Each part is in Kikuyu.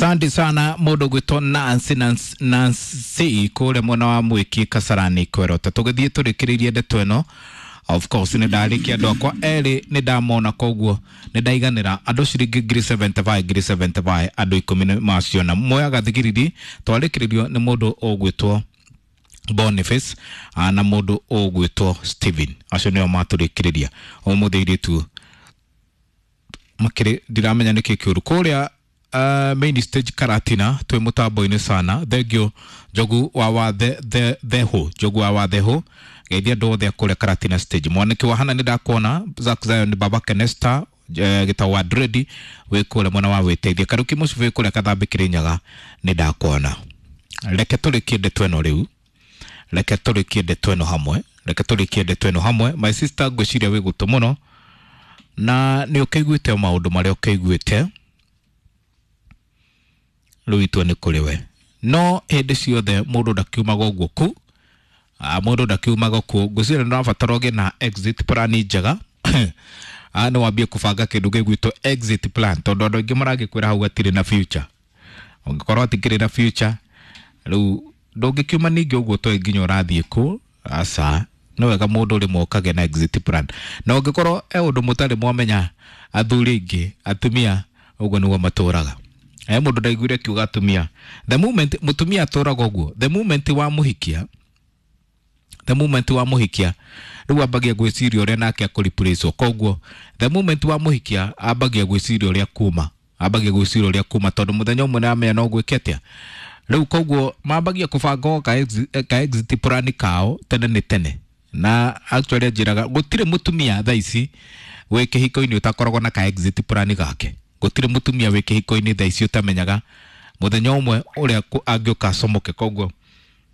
Asante sana mũndũ gwĩtwo Nancy Nancy, Nancy kũrĩa mwena wa Mwĩki Kasarani Kwerota. Tũgĩthiĩ tũrĩkĩrĩirie ndeto ĩno, of course nĩ ndarĩkia andũ akwa erĩ nĩ ndamona, koguo nĩ ndaiganĩra andũ ciringi ngiri 75 ngiri 75 andũ 10 nĩ maciona. Moyaga thigiriri twarĩkĩrĩrio nĩ mũndũ ũgwĩtwo Boniface na mũndũ ũgwĩtwo Steven, acio nĩo matũrĩkĩrĩria ũmũthĩ. Airĩtu makĩrĩ ndiramenya nĩkĩ kĩũru kũrĩa main stage Karatina twĩ mũtambo-inĩ sana. Thengio Njogu wa wathe the theho Njogu wa watheho geithia andũ othe a kũrĩa Karatina stage. Mwaniki wa hana nĩ ndakuona Zack Zion Baba Kenesta gĩtau wa Dredi wĩ kũrĩa mwena wa wĩteithia Karuki Mũcibi wĩ kũrĩa Kathambi Kĩrĩnyaga nĩ ndakuona. Reke tũrĩkie ndeto ĩno rĩu, reke tũrĩkie ndeto ĩno hamwe, reke tũrĩkie ndeto ĩno hamwe. My sister, ngwĩciria wĩ gũtũ mũno na nĩ ũkĩiguĩte maũndũ marĩa ũkĩiguĩte. Rĩu itua nĩ kũrĩ we, no hĩndĩ ciothe mũndũ ndakiumaga ũguo ku mũndũ ndakiumaga kuo. Ngwĩciria nĩ ũrabatara ũgĩe na exit plan njega, nĩ wambie kũbanga kĩndũ gĩgwĩtwo exit plan, tondũ andũ aingĩ maragĩkwĩra hau hatirĩ na future. Ũngĩkorwo hatikĩrĩ na future, rĩu ndũngĩkiuma ningĩ ũguo toĩ nginya ũrathiĩ kũ. Aca, nĩ wega mũndũ rĩmwe ũkagĩa na exit plan, na ũngĩkorwo e ũndũ mũtarĩ mwamenya athuri aingĩ atumia ũguo nĩguo matũraga. E mũndũ ndaiguire akiuga atumia, the moment mũtumia atũraga ũguo, the moment wa mũhikia, the moment wa mũhikia rĩu ambagia gwĩciria ũrĩa nake akũreplacewo. Koguo the moment wa mũhikia ambagia gwĩciria ũrĩa kuma, ambagia gwĩciria ũrĩa kuma, tondũ mũthenya ũmwe nĩamenya no gwĩke atĩa rĩu. Koguo mambagia kũbanga ka exit plan kao tene nĩ tene. Na actually anjĩraga gũtirĩ mũtumia thaa ici wĩ kĩhiko-inĩ ũtakoragwo na ka exit plan gake. Gũtirĩ mũtumia wĩ kĩhiko-inĩ thaa ici ũtamenyaga mũthenya ũmwe ũrĩa angĩũka acomoke. Koguo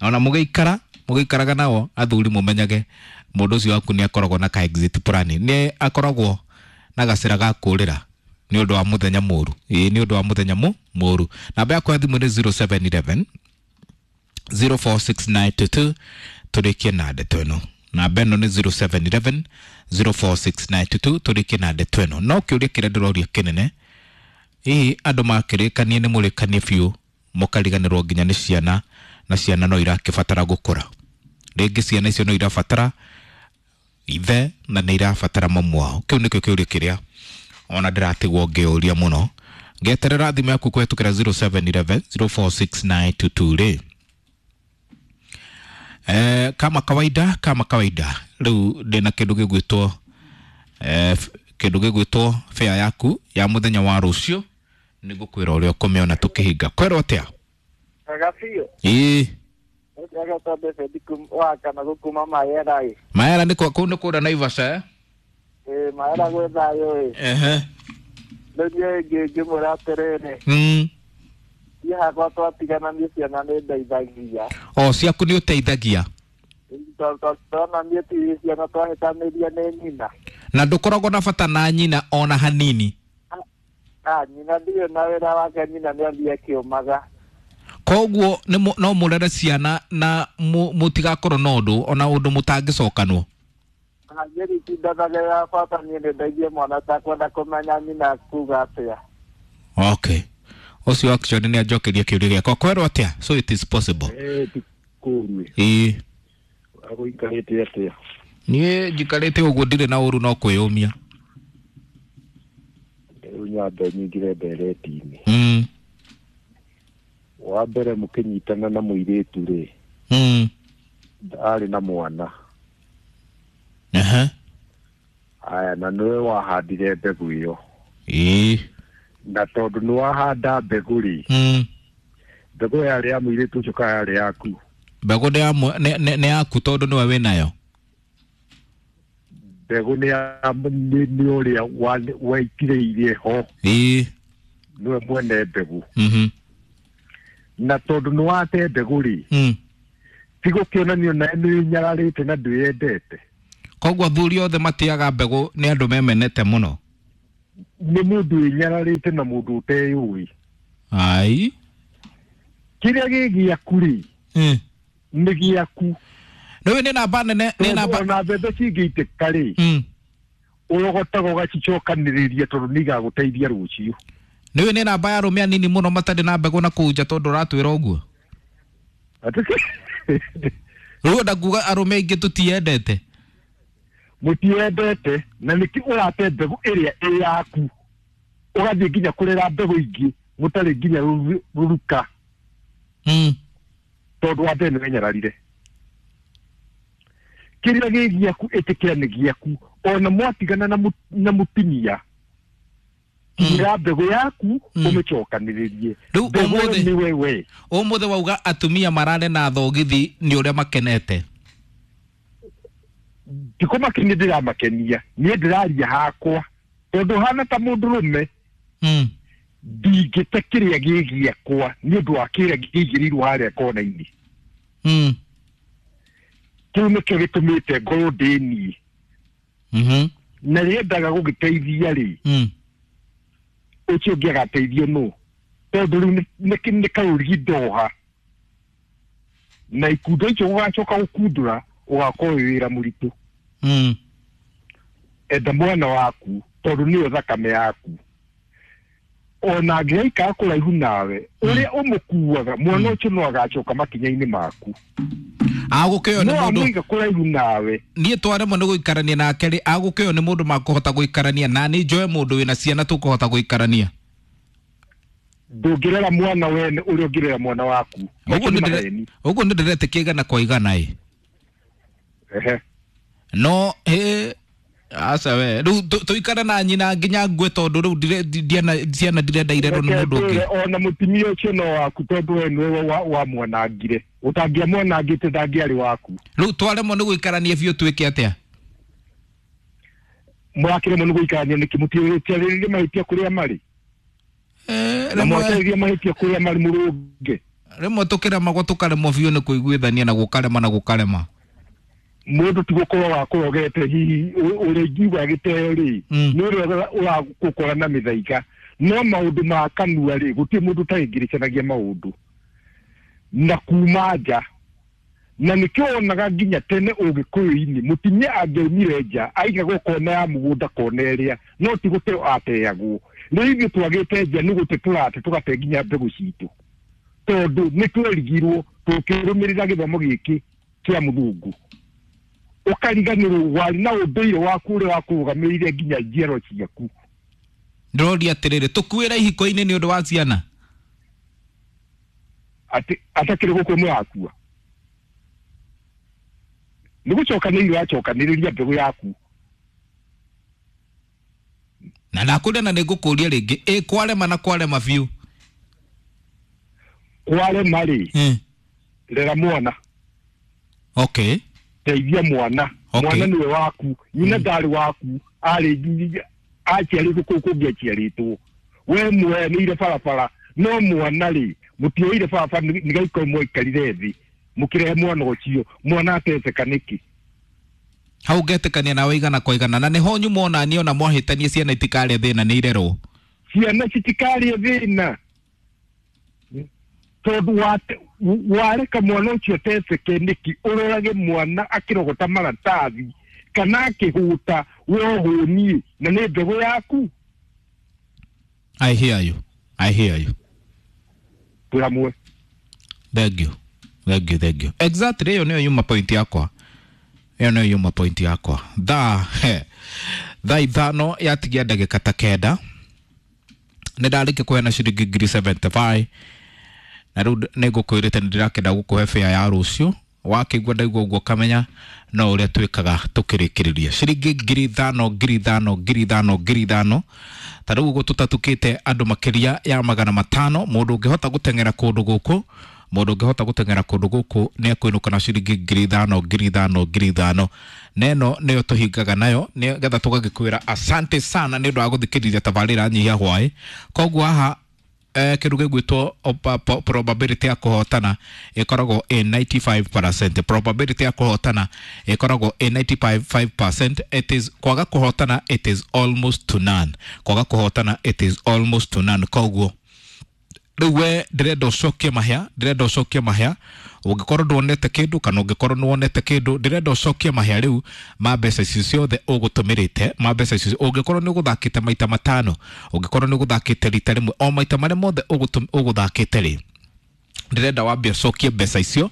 ona mũgĩikara mũgĩikaraga nao athuri, mũmenyage mũndũ ũcio waku nĩ akoragwo na ka exit plan, nĩ akoragwo na gacĩra ga kũrĩra nĩ ũndũ wa mũthenya mũru. Ĩĩ, nĩ ũndũ wa mũthenya mũru. Namba yakwa ya thimũ nĩ 0711 046922. Tũrĩkie na ndeto ĩno. Namba ĩno nĩ 0711 046922. Tũrĩkie na ndeto ĩno, no kĩũria kĩrĩa ndĩroria kĩnene, hihi andũ makĩrĩkanie nĩ mũrĩkanie biũ mũkariganĩrwo nginya nĩ ciana, na ciana no irakĩbatara gũkũra rĩngĩ, ciana icio no irabatara ithe na nĩ irabatara mamu wao? Kĩu nĩkĩo kĩũria kĩrĩa ona ndĩratigwo ngĩũria mũno. Ngeterera thimũ yaku kũhetũkĩra 0711 046922 rĩ. Kama kawaida, kama kawaida, rĩu ndĩna kĩndũ gĩgwĩtwo kĩndũ gĩgwĩtwo fare yaku ya mũthenya wa rũciũ. Nĩ ngũkwĩra ũrĩa ũkũmĩona tũkĩhinga. Kwerwo atĩa? Wega biũ. Ĩĩ. Ũrĩa David wa kana gũkuma Mayera ĩ. Maera nĩ kũu nĩ kũrĩa Naivasha, eh? Ĩ, Mayera gwĩ thayũ ĩ. Rĩu niĩ ngĩmwĩra atĩrĩrĩ, niĩ hakwa twatigana niĩ ciana nĩ ndeithagia. O ciaku nĩ ũteithagia? Tona niĩ ti ciana twahĩtanĩria nĩ nyina. Na ndũkoragwo na bata na nyina ona hanini? Ah, nyina ndirĩ na wĩra wake, nyina nĩ athiĩ akĩũmaga. Koguo no mũrere ciana na mũtigakorwo na ũndũ ona ũndũ mũtangĩcokanwo? Niĩ nditindanagĩrĩra, bata niĩ nĩ ndeithie mwana takwenda kũmenya nyina kuga atĩa. Okay, ũcio actually nĩ anjokeria kĩũria gĩakwa. Kwerwo atĩa? So it is possible? Eh, ti kũũru. Ĩĩ. Agũikarĩte atĩa? Niĩ njikarĩte ũguo, ndirĩ na ũru, no kwĩyũmia. Rĩu nyambe nyingĩre ndereti-inĩ. Wa mbere, mũkĩnyitana na mũirĩtu rĩ, arĩ na mwana. Aya, na nĩwe wahandire mbegũ ĩyo. Na tondũ nĩ wahanda mbegũ rĩ, mbegũ yarĩ ya mũirĩtu ũcio kana yarĩ yaku? Mbegũ nĩ yaku tondũ nĩwe wĩnayo. Mbegũ nĩ ya nĩ ũrĩa waitĩrĩirie ho. Nĩwe mwene mbegũ. Na tondũ nĩ wate mbegũ rĩ, ti gũkĩonanio nawe nĩ wĩnyararĩte na ndwĩyendete. Koguo athuri othe matĩaga mbegũ nĩ andũ memenete mũno? Nĩ mũndũ wĩnyararĩte na mũndũ ũteyũĩ. Ai. Kĩrĩa gĩ gĩaku rĩ, nĩ gĩaku. Rĩu nĩ namba nene, nĩ namba Ona mbembe cingĩitĩka rĩ, ũrogotaga ũgacicokanĩrĩria tondũ nĩ igagũteithia rũciũ. Nĩũĩ nĩ namba ya arũme anini mũno matarĩ na mbegũ na kũu nja tondũ ũratwĩra ũguo. Rĩu enda kuga arũme aingĩ tũtiendete. Mũtiendete na nĩkĩ ũrate mbegũ ĩrĩa ĩ yaku ũgathiĩ nginya kũrera mbegũ ingĩ mũtarĩ nginya rũruka. Tondũ wa mbere nĩ wenyararire. Kĩrĩa gĩ gĩaku ĩtĩkĩra nĩ gĩaku ona mwatigana na mũtumia ira mbegũ yaku ũmĩcokanĩrĩrie. Rĩu nĩ wewe. Ũmũthĩ wauga atumia marare na thogithi nĩ ũrĩa makenete. Ndikũmakenia ndĩramakenia niĩ ndĩraria hakwa tondũ hana ta mũndũrũme ndingĩte kĩrĩa gĩ gĩakwa nĩ ũndũ wa kĩrĩa kĩigĩrĩirwo harĩa kona-inĩ. Kĩu nĩkĩo gĩtũmĩte ngorwo ndĩ niĩ. Na rĩendaga gũgĩteithia rĩ ũcio ũngĩ agateithio nũ tondũ rĩu nĩ karũrigi ndoha na ikundo icio ũgacoka gũkundũra ũgakorwo wĩ wĩra mũritũ. Enda mwana waku tondũ nĩyo thakame yaku ona angĩgaikara kũraihu nawe ũrĩa ũmũkuaga mwana ũcio no agacoka makinya-inĩ maku. Agũkĩoyo nĩ mũndũ amũiga kũraihu nawe niĩ twaremwo nĩ gũikarania nake rĩ agũkĩoyo nĩ mũndũ makũhota gũikarania na nĩ njoe mũndũ wĩna ciana tũkũhota gũikarania. Ndũngĩrera mwana wene ũrĩa ũngĩrera mwana waku. Ũguo nĩ ndĩretĩkia igana kwa igana ĩ. No aca we rĩu tũikare na nyina nginya ngue tondũ rĩu ciana ndirenda irerwo nĩ mũndũ ũngĩ. Ona mũtumia ũcio no waku tondũ we nĩwe wamwanangire ũtangĩamwanangĩte ndangĩarĩ waku. Rĩu twaremwo nĩ gũikarania biũ twĩke atĩa? Mũrakĩremwo nĩ gũikarania nĩkĩ? Mũtiarĩrĩrie mahĩtia kũrĩa marĩ na mwarĩrĩrie mahĩtia kũrĩa marĩ mũrũnge. Rĩmwe tũkĩremagwo tũkaremwo biũ nĩ kũiguithania na gũkarema na gũkarema. Mũndũ ti gũkorwo wakũrogete hihi ũrĩa ingiuga gĩteo rĩ nĩ ũrĩa ũragũkora na mĩthaiga no maũndũ ma kanua rĩ gũtirĩ mũndũ ũtaingĩrĩcanagia maũndũ na kuma nja na nĩkĩo wonaga nginya tene ũgĩkũyũ-inĩ mũtumia angĩaumire nja aigagwo kona ya mũgũnda kona ĩrĩa no ti gũteo ateagwo. Rĩu ithuĩ twagĩte nja nĩ gũte tũrate tũgate nginya mbegũ citũ tondũ nĩ twerigirwo tũkĩrũmĩrĩra gĩthomo gĩkĩ kĩa mũthungu. Ũkariganĩrwo warĩ na ũndũire waku ũrĩa wakũrũgamĩrĩire nginya njiarwa ciaku. Ndĩroria atĩrĩrĩ tũkuĩre ihiko-inĩ nĩ ũndũ wa ciana atĩ atakĩrĩ gũkũ mũrakua nĩ gũcokanĩrĩria ũracokanĩrĩria mbegũ yaku. Na ndakũria na nĩngũkũria rĩngĩ ĩ kwarema na kwarema biũ. Kwarema rĩ rera mwana. Okay. Teithia mwana. Mwana nĩwe waku nyina ndarĩ waku arĩ aciarĩtwo kũu kũngĩ aciarĩtwo we mweneire barabara no mwana rĩ mũtioire barabara nĩgaikoro mwaikarire thĩ mũkĩrehe mwana ũcio mwana ateceka nĩkĩ? Hau ngetĩkania nawe igana kwa igana na nĩho nyuma ona niĩ ona mwahĩtania ciana itikarĩa thĩna nĩ irerwo. Ciana citikarĩe thĩna tondũ wareka mwana ũcio ateceke nĩkĩ? Ũrorage mwana akĩrogota maratathi kana akĩhũta we ũhũniĩ na nĩ mbegũ yaku. I hear you. I hear you. Twĩ hamwe. Thank you. Thank you, thank you. Exactly ĩyo nĩyo yuma point yakwa. Ĩyo nĩyo yuma point yakwa. Thaa 5 yatigia ndagĩka ta 9 nĩ ndarĩkia kũheana ciringi 75 na rĩu nĩ ngũkwĩrĩte nĩ ndĩrakĩenda gũkũhe fare ya rũciũ wakĩigua ndaigua ũguo kamenya no ũrĩa twĩkaga tũkĩrĩkĩrĩria ciringi 5,000 5,000 5,000 5,000 ta rĩu ũguo tũtatukĩte andũ makĩria ya 500 mũndũ ũngĩhota gũteng'era kũndũ gũkũ mũndũ ũngĩhota gũteng'era kũndũ gũkũ nĩ ekũinũka na ciringi 5,000 5,000 5,000 neno nĩyo tũhingaga nayo nĩgetha tũgagĩkwĩra asante sana nĩ ũndũ wa gũthikĩrĩria tabarĩra Nyihia Hwaĩ. Koguo haha kĩndũ gĩgwĩtwo probability ya kũhotana ĩkoragwo ĩ 95%. Probability ya kũhotana ĩkoragwo ĩ 95%. It is kwaga kũhotana it is almost to none. Kwaga kũhotana it is almost to none. Koguo Rĩu we ndĩrenda ũcokie mahĩa, ndĩrenda ũcokie mahĩa. Ũngĩkorwo ndwonete kĩndũ kana ũngĩkorwo nĩwonete kĩndũ, ndĩrenda ũcokie mahĩa rĩu ma mbeca icio ciothe ũgũtũmĩrĩte, ma mbeca icio. Ũngĩkorwo nĩ ũgũthakĩte maita matano, ũngĩkorwo nĩ ũgũthakĩte rita rĩmwe, o maita marĩa mothe ũgũthakĩte rĩ, ndĩrenda wambe ũcokie mbeca icio,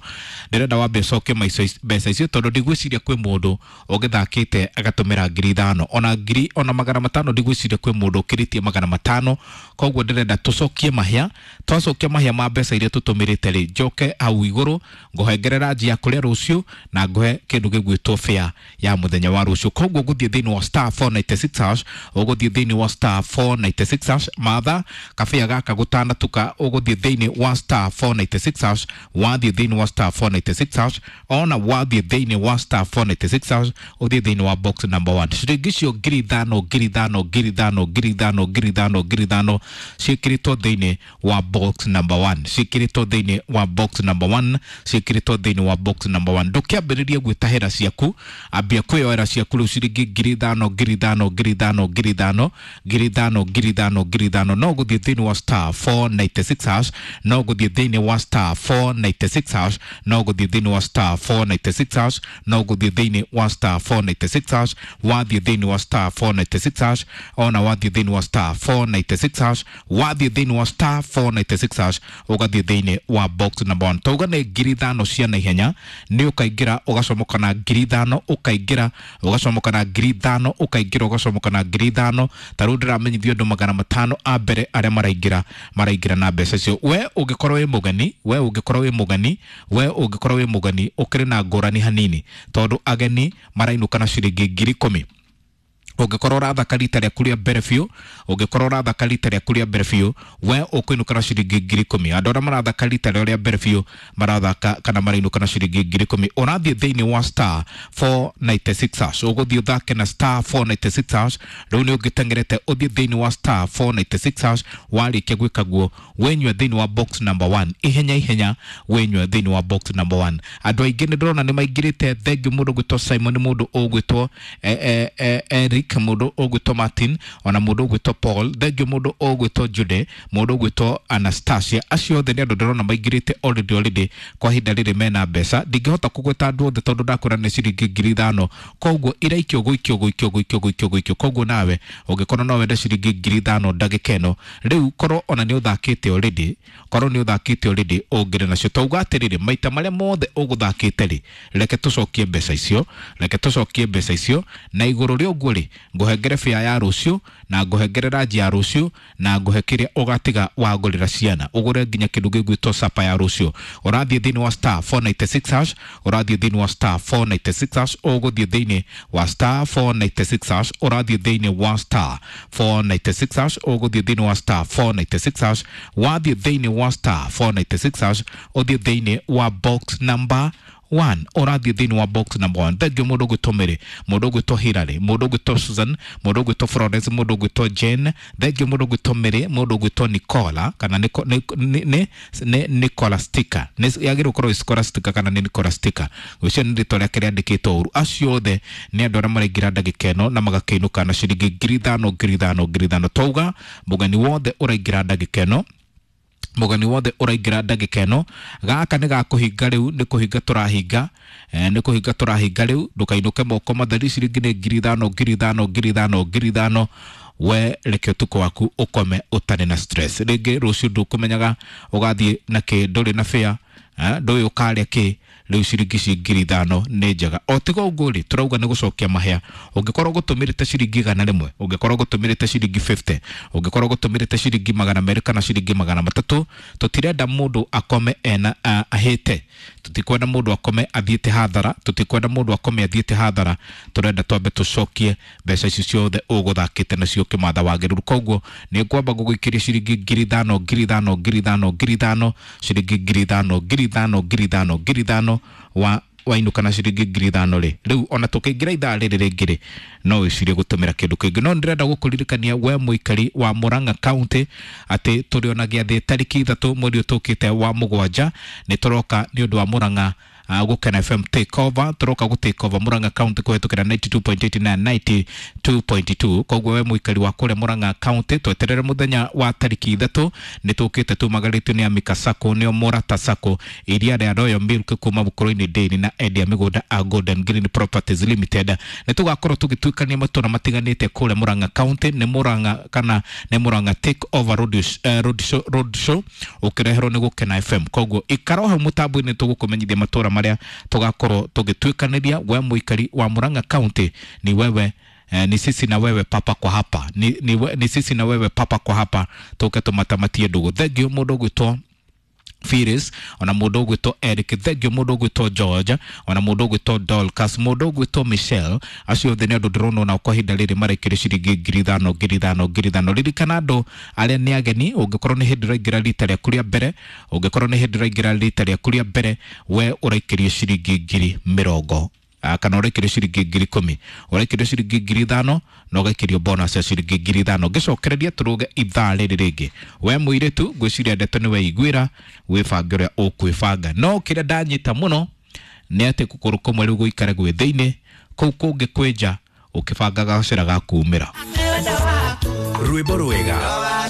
ndĩrenda wambe ũcokie mbeca icio, tondũ ndigwĩciria kwĩ mũndũ ũgĩthakĩte agatũmĩra 5,000 ona ngiri ona 500, ndigwĩciria kwĩ mũndũ ũkĩrĩtie 500. Koguo ndĩrenda tũcokie mahĩa. Twacokia mahĩa ma mbeca iria tũtũmĩrĩte rĩ, njoke hau igũrũ ngũhengerera njia kũrĩa rũciũ na ngũhe kĩndũ gĩgwĩtwo fare ya mũthenya wa rũciũ. Koguo ũgũthiĩ thĩinĩ wa star 496 hash, ũgũthiĩ thĩinĩ wa star 496 hash, matha kabĩa gaka gũtanatuka, ũgũthiĩ thĩinĩ wa star 496 hash, wathiĩ thĩinĩ wa star 496 hash, ona wathiĩ thĩinĩ wa star 496 hash, ũthiĩ thĩinĩ wa box number 1. Ciringi icio 5,000 5,000 5,000 5,000 5,000 5,000 ciĩkĩrĩtwo thĩinĩ wa box number 1, ciĩkĩrĩtwo thĩinĩ wa box number 1, ciĩkĩrĩtwo thĩinĩ wa box number 1. Ndũkĩambĩrĩrie gwĩtahĩra ciaku, ambia kwĩyoera ciaku rĩu ciringi 5,000 5,000 5,000 5,000 5,000 5,000 5,000. No gũthiĩ thĩinĩ wa star 496 hash, no gũthiĩ thĩinĩ wa star 496 hash, no gũthiĩ thĩinĩ wa star 496 hash, no gũthiĩ thĩinĩ wa star 496 hash, wathiĩ thĩinĩ wa star 496 hash, ona wathiĩ thĩinĩ wa star 496 hash, wathiĩ thĩinĩ wa star 496 hash, ũgathiĩ thĩinĩ wa box number 1. Tauga nĩ 5,000 cia naihenya, nĩ ũkaingĩra ũgacomoka na 5,000, ũkaingĩra ũgacomoka na 5,000, ũkaingĩra ũgacomoka na 5,000. Ta rĩu ndĩramenyithio andũ 500 a mbere arĩa maraingĩra na mbeca icio. We ũngĩkorwo wĩ mũgeni, we ũngĩkorwo wĩ mũgeni, we ũngĩkorwo wĩ mũgeni, ũkĩrĩ na ngũrani hanini, tondũ ageni marainũka na ciringi 10,000. Ũngĩkorwo ũrathaka rita rĩaku rĩa mbere biũ, ũngĩkorwo ũrathaka rita rĩaku rĩa mbere biũ, we ũkũinũka na ciringi 10,000. Andũ arĩa marathaka rita rĩao rĩa mbere biũ marathaka kana marainũka na ciringi 10,000. Ũrathiĩ thĩinĩ wa star 496 hash, ũgũthiĩ ũthake na star 496 hash. Rĩu nĩ ũngĩteng'erete ũthiĩ thĩinĩ wa star 496 hash, warĩkia gwĩka guo wĩnyue thĩinĩ wa box number 1, ihenya ihenya wĩnyue thĩinĩ wa box number 1. Andũ aingĩ nĩ ndĩrona nĩ maingĩrĩte. Thengiũ mũndũ ũgwĩtwo Simon, mũndũ ũgwĩtwo Eric, mũndũ ũgwĩtwo Martin, ona mũndũ ũgwĩtwo Paul, thengiũ mũndũ ũgwĩtwo Jude, mũndũ ũgwĩtwo Anastasia. Acio othe nĩ andũ ndĩrona maingĩrĩte already kwa ihinda rĩrĩ mena mbeca. Ndingĩhota kũgweta andũ othe tondũ ndakwĩra nĩ ciringi 5,000. Koguo iraikio gũikio gũikio gũikio gũikio gũikio. Koguo nawe ũngĩkorwo no wende ciringi 5,000 ndagĩka ĩno rĩu, korwo ona nĩ ũthakĩte already, korwo nĩ ũthakĩte already ũngĩrĩ nacio. Tauga atĩrĩrĩ, maita marĩa mothe ũgũthakĩte rĩ, reke tũcokie mbeca icio, reke tũcokie mbeca icio, na igũrũ rĩa ũguo rĩ, ngũhengere bĩa ya rũciũ, na ngũhengere ranji ya rũciũ, na ngũhe kĩrĩa ũgatiga wagũrĩra ciana, ũgũre nginya kĩndũ gĩgwĩtwo sapa ya rũciũ. Ũrathiĩ thĩinĩ wa star 496 hash, ũrathiĩ thĩinĩ wa star 496 hash, ũgũthiĩ thĩinĩ wa star 496 hash, ũrathiĩ thĩinĩ wa star 496 hash, ũgũthiĩ thĩinĩ wa star 496 hash, wathiĩ thĩinĩ wa star 496 hash, ũthiĩ thĩinĩ wa box number 1, ũrathiĩ thĩinĩ wa box number 1. Thengiũ mũndũ ũgwĩtwo Mary, mũndũ ũgwĩtwo Hilary, mũndũ ũgwĩtwo Susan, mũndũ ũgwĩtwo Florence, mũndũ ũgwĩtwo Jane, thengiũ mũndũ ũgwĩtwo Mary, mũndũ ũgwĩtwo Nicola, kana nĩ Nicola Sticker, yagĩrĩirwo gũkorwo Scholastica kana nĩ Nicola Sticker, ũcio nĩ rĩtwa rĩake rĩandĩkĩtwo ũru. Acio othe nĩ andũ arĩa maraingĩra ndagĩka ĩno na magakĩinũka na ciringi 5,000 5,000 5,000. Twauga mũgeni wothe ũraingĩra ndagĩka ĩno, mũgeni wothe ũraingĩra ndagĩka ĩno, gaka nĩ gakũhinga rĩu, nĩ kũhinga tũrahinga, nĩ kũhinga tũrahinga rĩu. Ndũkainũke moko matheri, ciringi nĩ 5,000 5,000 5,000 5,000. We reke ũtukũ waku ũkome ũtarĩ na stress. Rĩngĩ rũciũ ndũkũmenyaga ũgathiĩ na kĩ, ndũrĩ na fare, ndũĩ ũkarĩa kĩ. Rĩu ciringi ici 5,000 nĩ njega. O tiga ũguo rĩ, tũrauga nĩ gũcokia mahĩa. Ũngĩkorwo ũgũtũmĩrĩte ciringi 100, ũngĩkorwo ũgũtũmĩrĩte ciringi 50, ũngĩkorwo ũgũtũmĩrĩte ciringi 200 kana ciringi 300, tũtirenda mũndũ akome ena ahĩte, tũtikwenda mũndũ akome athiĩte hathara, tũtikwenda mũndũ akome athiĩte hathara. Tũrenda twambe tũcokie mbeca icio ciothe ũgũthakĩte nacio ũkĩmatha wagĩrĩru. Koguo nĩ ngwamba gũgũikĩria ciringi 5,000 5,000 5,000 5,000, ciringi 5,000 5,000 5,000 5,000, wa wainũka na ciringi 5,000 rĩ. Rĩu ona tũkĩingĩra ithaa rĩrĩ rĩngĩ rĩ, no wĩcirie gũtũmĩra kĩndũ kĩngĩ. No ndĩrenda gũkũririkania we mũikari wa Murang'a County atĩ tũrĩ ona gĩathĩ tarĩki 3 mweri ũyũ tũkĩte wa 7, nĩ tũroka nĩ ũndũ wa Murang'a Gũkena FM take over, tũroka gũ take over Murang'a County kũhetũkĩra 92.8 na 92.2. Koguo we mũikari wa kũrĩa Murang'a County, tweterere mũthenya wa tarĩki 3, nĩ tũkĩte tumagarĩtio nĩ Amika Sacco, nĩo Morata Sacco, iria rĩa Royal Milk kuma Bukuru-inĩ Dairy na endia mĩgũnda a Golden Green Properties Limited. Nĩ tũgakorwo tũgĩtuĩkania matũra matiganĩte kũrĩa Murang'a County. Nĩ Murang'a kana nĩ Murang'a take over road, road show ũkĩreherwo nĩ Gũkena FM. Koguo ikara hau mũtambo-inĩ, tũgũkũmenyithia matũra marĩa tũgakorwo tũgĩtuĩkanĩria. We mũikari wa Murang'a County, ni wewe ni sisi na wewe papa kwa hapa, ni sisi na wewe papa kwa hapa, tũke tũmatamatie ndũgũ. Thengio mũndũ ũgwĩtwo Phyllis, ona mũndũ ũgwĩtwo Eric, thengio mũndũ ũgwĩtwo George, ona mũndũ ũgwĩtwo Dorcas, mũndũ ũgwĩtwo Michelle. Acio othe nĩ andũ ndĩrona onao kwa ihinda rĩrĩ marekĩrio ciringi 5,000, 5,000, 5,000. Ririkana andũ arĩa nĩ ageni, ũngĩkorwo nĩ hĩndĩ ũraingĩra rita rĩaku rĩa mbere, ũngĩkorwo nĩ hĩndĩ ũraingĩra rita rĩaku rĩa mbere, we ũraikĩrio ciringi 20,000 kana ũraikĩrio ciringi 10,000, ũraikĩrio ciringi 5,000 na ũgaikĩrio bonus ya ciringi 5,000. Ngĩcokereria tũrũge ithaa rĩrĩ rĩngĩ. We mũirĩtu, ngwĩciria ndeto nĩ weiguĩra, wĩbange ũrĩa ũkwĩbanga. No kĩrĩa ndanyita mũno nĩ atĩ kũgũrũ kũmwe rĩu gũikare gwĩ thĩinĩ, kũu kũngĩ kwĩnja, ũkĩbangaga gacĩra ga kumĩra. Rwĩmbo rwega.